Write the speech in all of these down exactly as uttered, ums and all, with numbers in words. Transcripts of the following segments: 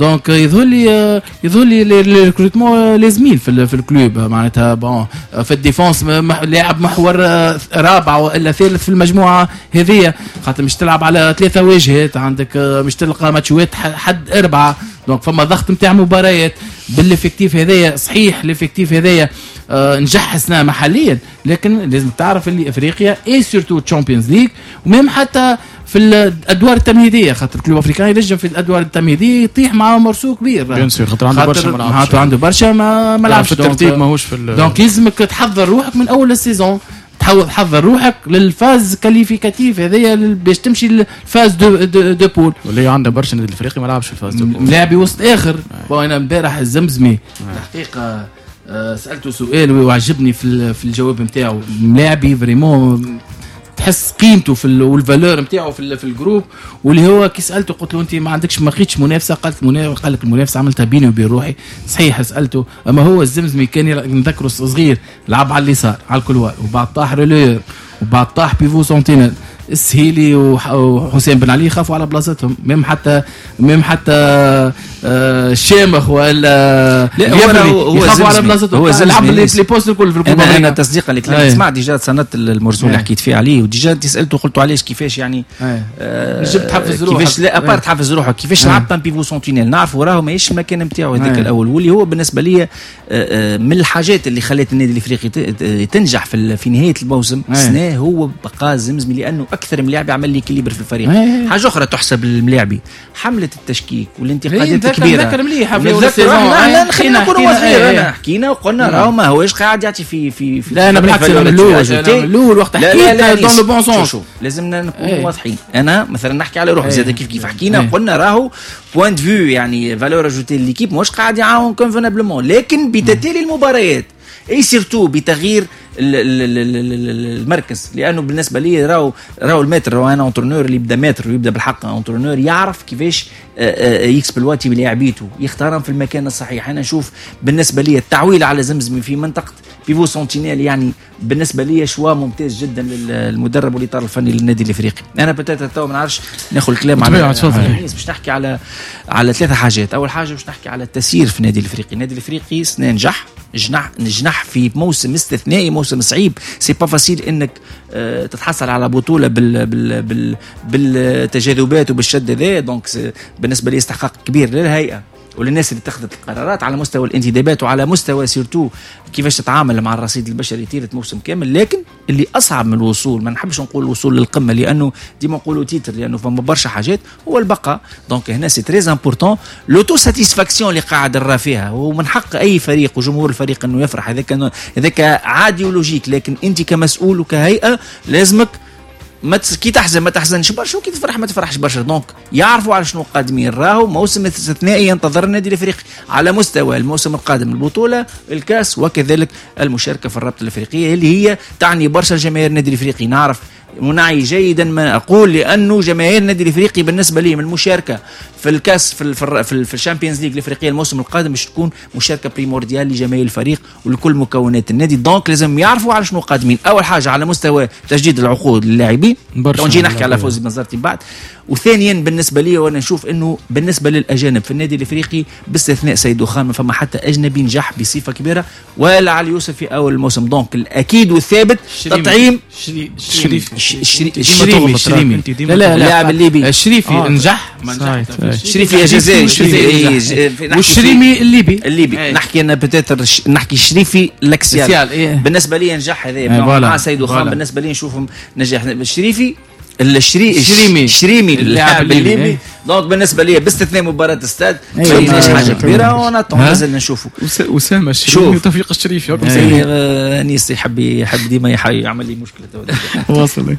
donc يظهر لي يظهر لي les recrutements لازمين في في ال club. معناتها bon في ال défense لاعب محور رابع والا ثالث في المجموعة هذه، خاطر مش تلعب على ثلاثة واجهات، عندك مش تلقى ماتشوات حد اربعه، donc فما ضغط نتاع مباريات بال effectif هذايا. صحيح l'effectif هذايا آه نجح سنة محليا، لكن لازم تعرف اللي افريقيا et surtout Champions League و même حتى في الادوار التمهيديه، خاطر Club Africain ينجم في الادوار التمهيدية يطيح مع morceau كبير. bien sûr، خاطر عنده برشا ما لعبش، عنده برشا ما ما لعبش. في الترتيب ماهوش في. donc لازمك تحضر روحك من اول ال saison، تحضر روحك لل phase qualificative هذيا باش تمشي لل phase de de, de poules. واللي عنده برشا النادي الافريقي ما لعبش في ال phase de poules. لاعب وسط اخر. bon انا امبارح الزمزمي الحقيقة آه، سالته سؤال وعجبني في في الجواب نتاعو. ملاعبي vraiment تحس قيمته في وال valeur نتاعو في في ال groupe، واللي هو كي سالته قلت له انت ما عندكش ما لقيتش منافسه؟ قالت قال لك المنافسة عملتها بيني وبين روحي. صحيح سالته، اما هو الزمزمي كان نذكره صغير لعب على اليسار على ال couloir، وبعد طاح relayeur، وبعد طاح pivot sentinelle. السهيلي وحسين بن علي خافوا على بلاصتهم، même حتى même حتى آه، الشامخ ولا لا هو هو يخافوا على بلاصتهم. هو لعب les postes الكل في انا انا تصديقا لكلامك، سمعت déjà تصنت ال morceau اللي حكيت فيه عليه، و déjà انت سالته قلت علاش كيفاش يعني آه تحفز روحك؟ كيفاش لا à part تحفز روحك، كيفاش لعبت un pivot sentinelle؟ نعرفوا راهو ماهيش المكان نتاعو هذاك الاول، واللي هو بالنسبة لي آه، آه، من الحاجات اللي خلت النادي الافريقي تنجح في في نهاية الموسم السنة هو بقاء زمزمي، لانه اكثر من لاعب عمل l'équilibre في الفريق. حاجة اخرى تحسب للملاعبي، حمله التشكيك والانتقادات الكبيره. نذكر مليح. في لا خلينا نكونوا واضحين، حكينا وقلنا راهو ما هوش قاعد يعطي في في في لا انا بالعكس، انا من الاول من الاول وقت حكيت dans le bon sens. لازمنا نكونوا واضحين. انا مثلا نحكي على روحي زاد كيف كيف، حكينا قلنا راهو point de vue يعني valeur ajoutée l'équipe مش قاعد يعاون convenablement، لكن بتتالي المباريات et surtout بتغيير المركز، لانه بالنسبة لي راهو راهو ال maître راهو un entraîneur اللي يبدا maître ويبدا بالحق entraîneur يعرف كيفاش آه، آه، ي exploiter بلاعبيته، يختارهم في المكان الصحيح. انا نشوف بالنسبة لي التعويل على زمزمي في منطقة pivot sentinelle يعني بالنسبة لي choix ممتاز جدا للمدرب والاطار الفني للنادي الافريقي. انا peut-être تو ما نعرفش ناخذ الكلام على باش نحكي على على ثلاثة حاجات. اول حاجة باش نحكي على التسيير في النادي الافريقي. النادي الافريقي سنة نجح جنح نجح في موسم استثنائي، موسم صعيب، c'est pas facile انك آه، تتحصل على بطوله بال بال بال بالتجاذبات وبالشد هذا. donc بالنسبة لي استحقاق كبير للهيئة وللناس اللي اتخذت القرارات على مستوى الانتدابات وعلى مستوى surtout كيفاش تتعامل مع الرصيد البشري طيلة موسم كامل. لكن اللي اصعب من الوصول، ما نحبش نقول الوصول للقمه لانه ديما نقولوا titre، لانه فما برشا حاجات، هو البقاء. donc هنا c'est très important l'auto-satisfaction اللي قاعد نرى فيها، ومن حق اي فريق وجمهور الفريق انه يفرح، هذاك هذاك عادي و logique. لكن انت كمسؤول وكهيئه لازمك ما كي تحزن ما تحزنش برشا، وكي تفرح ما تفرحش برشا. donc يعرفوا على شنو قادمين، راهو موسم استثنائي ينتظر النادي الافريقي على مستوى الموسم القادم، البطوله، الكاس، وكذلك المشاركة في الرابطة الافريقية اللي هي تعني برشا جماهير النادي الافريقي. نعرف ونعي جيدا ما اقول، لانه جماهير النادي الافريقي بالنسبة لي من المشاركة في الكاس في في, في, في ال Champions League الافريقية الموسم القادم باش تكون مشاركة primordiale لجماهير الفريق ولكل مكونات النادي. donc لازم يعرفوا على شنو قادمين. اول حاجة على مستوى تجديد العقود للاعبين، نجي نحكي على فوزي بنزرتي بعد. وثانيا بالنسبة لي وانا نشوف انه بالنسبة للاجانب في النادي الافريقي باستثناء سيدو خان ما فما حتى اجنبي نجح بصفة كبيرة ولا علي يوسف في اول الموسم. donc الاكيد والثابت تطعيم شريف الشريمي الشريمي لا لا اللاعب الليبي. الشريفي آه. نجح. ما نجح الشريفي جزائري. والشريمي الليبي. الليبي نحكي انا peut-être نحكي الشريفي l'axial إيه. بالنسبة لي نجح هذا مع سيدو خان، بالنسبة لي نشوفهم نجح الشريفي الشري الشريمي. الشريمي اللاعب الليبي. donc بالنسبة لي باستثناء مباراة استاد ما حاجة كبيره، و on attend مازال نشوفوا. اسامة الشريمي وتوفيق الشريفي. انيس يحب يحب ديما يعمل لي مشكله. واصل.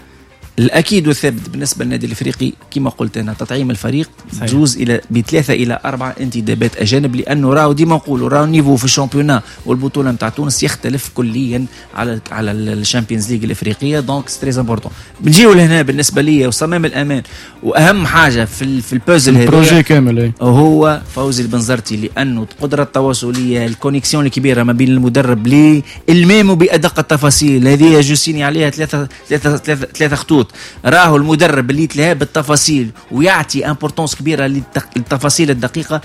الاكيد والثابت بالنسبة للنادي الافريقي كما قلت انا تطعيم الفريق زوز الى بثلاثة الى اربعة انتدابات اجانب، لانه راهو ديما نقولوا راهو niveau في ال championnat والبطوله نتاع تونس يختلف كليا على على ال Champions League الافريقيه. donc c'est très important. نجيو لهنا بالنسبة لي وصمام الامان واهم حاجة في في البازل هذا projet كامل إيه. هو فوزي البنزرتي، لانه القدرة التواصليه، ال connexion الكبيرة ما بين المدرب للمامو بادق التفاصيل هذه je signe عليها ثلاثه ثلاثه ثلاثه ثلاثة خطوط. مضبوط. راهو المدرب اللي يتلهى بالتفاصيل ويعطي importance كبيرة للتفاصيل الدقيقه.